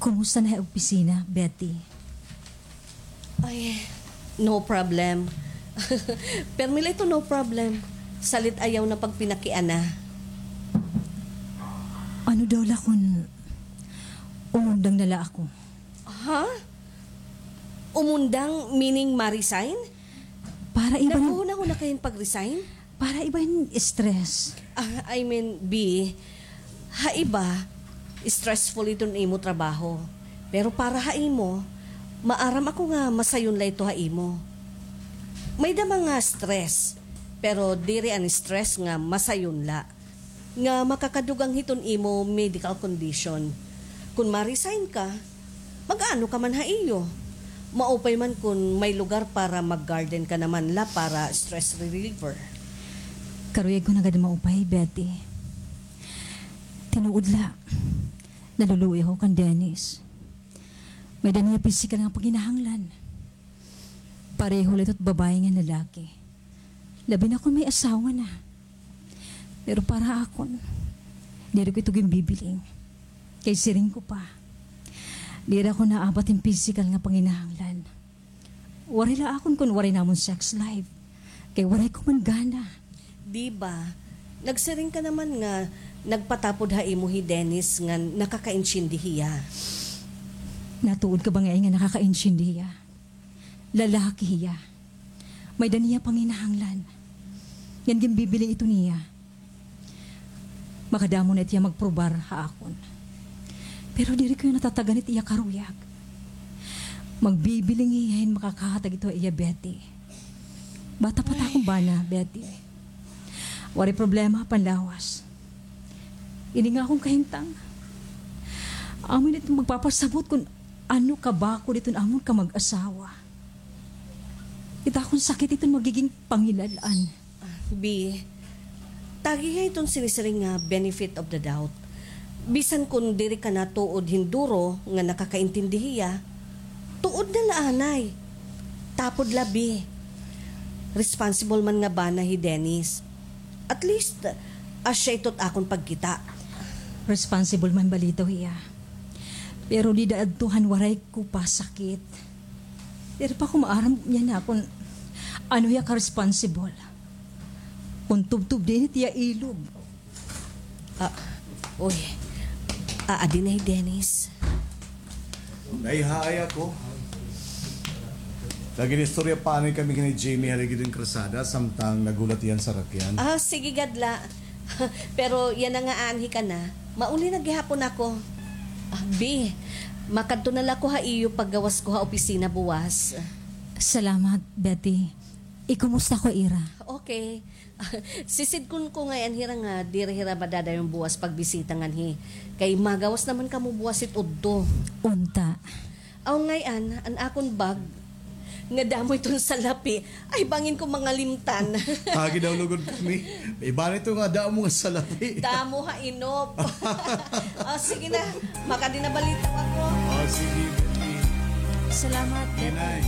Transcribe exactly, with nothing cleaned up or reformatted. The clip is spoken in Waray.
Kumusta na ha opisina, Betty? Ay, no problem. Permi la ito, no problem. Salit ayaw na pagpinakiana. Ano daw la kon umundang na la ako? Ha? Umundang meaning ma-resign? Para iba na. Naghunahuna ka hin pag-resign? Para iba hin stress. Ah, I mean, B, ha iba, stressful iton imo trabaho. Pero para ha imo, maaram ako nga masayon la ito ha imo. May-ada man nga stress, pero diri an stress nga masayon la, nga makakadugang hiton imo medical condition. Kon ma-resign ka, mag-aano ka man ha iyo? Maupay man kon may lugar para mag-garden ka naman la para stress reliever. Karuyag ko na gad maupay, Betty. Tinuod la, naluluoy ako kan Dennis. May-ada niya pisikal nga panginahanglan. Pareho la ito hit babaye ngan lalaki. Labi na kon may asawa na. Pero para ha akon, diri ko ito ginbibiling. Kay siring ko pa, diri ako naabat hin pisikal nga panginahanglan. Waray la akon kon waray namon sex life. Kay waray ko man gana. Di ba? Nagsiring ka naman nga nagpatapod ha imo hi Dennis ngan nakakaintindi hiya. Natuod ka ba nga, nga nakakaintindi hiya? Lalaki hiya. May-ada niya panginahanglan. Ngan ginbibiling ito niya. Makadamo na it iya magprobar ha akon. Pero diri ko iya natatagan it iya karuyag. Magbibiling hiya hin makakahatag ito ha iya, Betty. Bata pa it akon bana, Betty. Waray problema ha panlawas. Ini nga akon kahimtang, amo ini it magpapasabot kon ano kabakod iton amon kamag-asawa. It akon sakit iton magiging pangilal-an. Ah, B, tagiha iton sinisiring nga benefit of the doubt. Bisan kon diri ka na tuod hin duro nga nakakaintindi hiya, tuod na la anay. Tapod la, B. Responsible man nga bana hi Dennis. At least, asya ito it akon pagkita. Responsible man bala ito hiya. Pero dida adto han waray ko pa sakit, diri pa ako maaram niyan ha kon ano hiya ka-responsible. Kon tubtob dinhi it iya ilog. Ah, uy. Aadi na hi Dennis. Nahihaay ako. Nag-inistorya pa anay kami kan Jamie ha ligid hin karsada, samtang naghulat hiya han sarakyan. Ah, sige gad la. Pero yana nga aanhi ka na, mauli na gihapon ako. Ah, B, makadto na la ako ha iyo paggawas ko ha opisina buwas. Salamat, Betty. Ikumusta ko ira? Okay. Sisidkon ko ngay-an hira nga diri hira madadayon buwas pagbisita nganhi. Kay magawas naman kamo buwas hit udto. Unta. Aw, ngay-an, an akon bag, nga damo iton salapi, ay bangin ko mangalimtan. Agi daw lugod kami. Iba na ito nga damo nga salapi. Damo ha inop. Ah, sige na, makadi na bala ito ako. Oh, sige, Betty. Salamat, Betty. Inay.